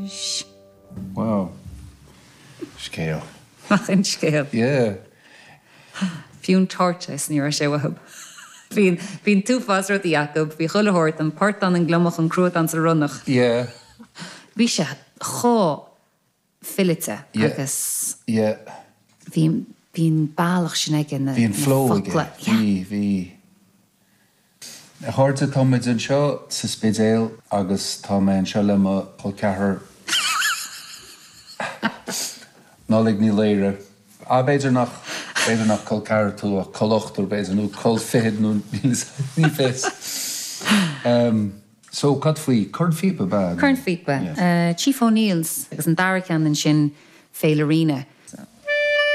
Anois. Wow. Scéal. Nach in scéal. Yeah. Fiú an tortoise ní raibh sé uathu. Bhí bhí an t-uafás rudaí acu, bhí chuile shórt, an portán, an gliomach, an cruadán 's an ronnach. Yeah. Bhí sé chomh fileata agus Yeah. bhí bhí an bealach sin aige na Bhí an flow aige. focla. Yeah. Bhí, bhí. A chairde, tá muid anseo sa Spidéal agus tá mé anseo le mo chol ceathrar Nollaig Ní Laoire. Ah, b'fhéidir nach, b'fhéidir nach col ceathrar tú ach col ochtar b'fhéidir, nó col fichead nó ní fios. So, cad faoi? Cornphíopa, ab ea? Cornphíopa. Chief O'Neill's agus an dara ceann ansin Féile Ríona.